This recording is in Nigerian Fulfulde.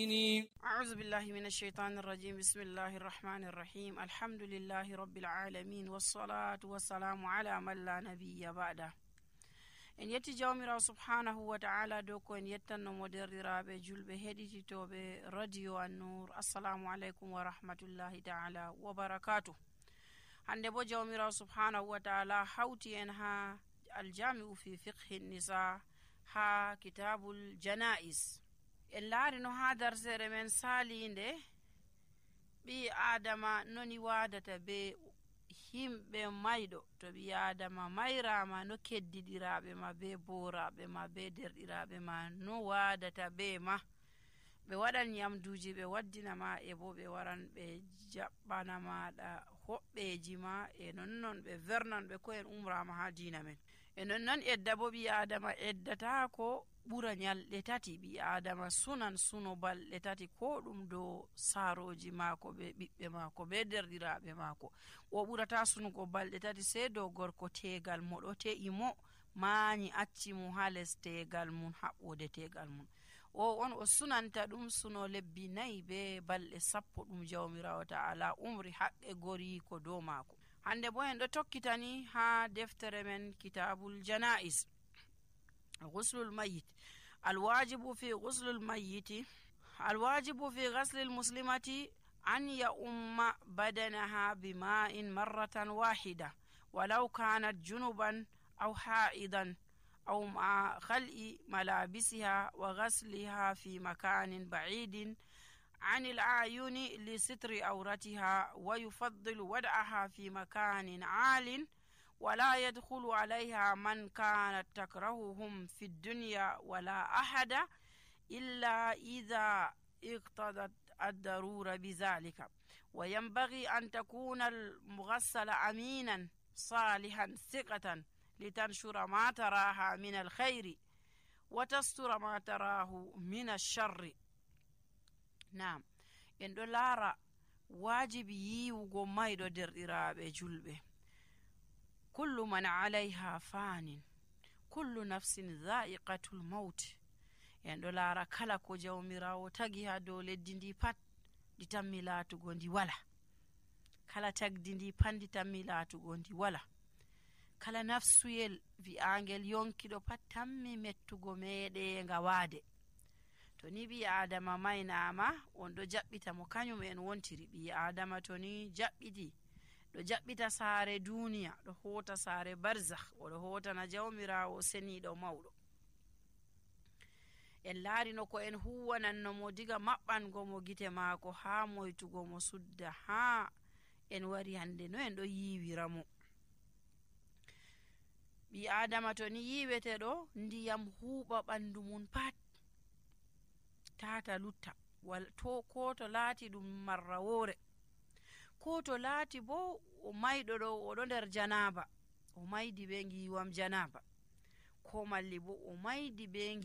أعوذ بالله من الشيطان الرجيم بسم الله الرحمن الرحيم الحمد لله رب العالمين والصلاة والسلام على من لا نبي بعده. en yetti jawmirawo subhanahu wa ta'ala dow ko en yettanno mo derɗiraɓe julɓe heɗititoɓe radio An-Nur. assalamu aleykum wa rahmatullahi ta'ala wa barakatuh. hande bo jawmirawo subhanahu wa ta'ala hawti en ha aljami'u fi fiqhi nisa ha kitabul jana'is. en laari no ha darsere men salinde ɓi adama noni wadata be himɓe mayɗo. to ɓi adama mayrama no keddiɗiraɓe ma be boraɓe ma be derɗiraɓe ma no wadata be ma. ɓe waɗan nyamduji ɓe waddina ma e bo ɓe waran ɓe jaɓɓana maɗa hoɓɓeji ma e nonnon ɓe vernan ɓe ko en umrama ha dina men. e nonnon edda bo ɓi adama eddata ko ɓura nyalɗe tati. ɓi adama sunan suno balɗe tati ko ɗum dow saroji maako be ɓiɓɓe maako be derɗiraɓe maako. o ɓurata sunugo balɗe tati sei dow gorko tegal mo ɗo te'i mo maani acci mo ha les tegal mum haɓɓode tegal mum. o on o sunanta ɗum suno lebbi 4 be balɗe 10 ɗum jawmirawo ta'ala umri haqqe gori ko dow maako. hande bo en ɗo tokkitani ha deftere men kitabul jana'is. غسل الميت. الواجب في غسل الميت الواجب في غسل المسلمة أن يؤم بدنها بماء مرة واحدة ولو كانت جنبا أو حائضا أو مع خلع ملابسها وغسلها في مكان بعيد عن الأعين لستر عورتها. ويفضل وضعها في مكان عال ولا يدخل عليها من كانت تكرههم في الدنيا ولا أحد إلا إذا اقتضت الضرورة بذلك. وينبغي أن تكون المغسل أمينا صالحا ثقة لتنشر ما تراها من الخير وتستر ما تراه من الشر. نعم en ɗo laara wajibi yiwugo mayɗo derɗiraɓe julɓe. kullu man alayha fanin kullu nafsin dha'iqatul maut. en ɗo laara kala ko jawmirawo tagi ha dow leddi ndi pat ndi tammi laatugo ndi wala. kala tagdi ndi pat ndi tammi laatugo ndi wala. kala nafsuyel wi'angel yonkiɗo pat tammi mettugo meɗenga waade. to ni ɓi adama maynama on ɗo jaɓɓita mo kañum en wontiri. ɓi adama to ni jaɓɓiti ɗo jaɓɓita saare duniya ɗo hota saare barzakh oɗo hotana jawmirawo seniɗo mawɗo. en laarino ko en huwananno mo diga maɓɓango mo gite maako ha moytugo mo sudda ha en wari hande no en ɗo yiwira mo. ɓi adama to ni yiwete ɗo ndiyam huuɓa ɓandu mum pat tata lutta ko to laati ɗum marrawore ko to laati bo o mayɗo ɗo oɗo nder janaba o maydi be ngiwam janaba ko malli bo o maydi be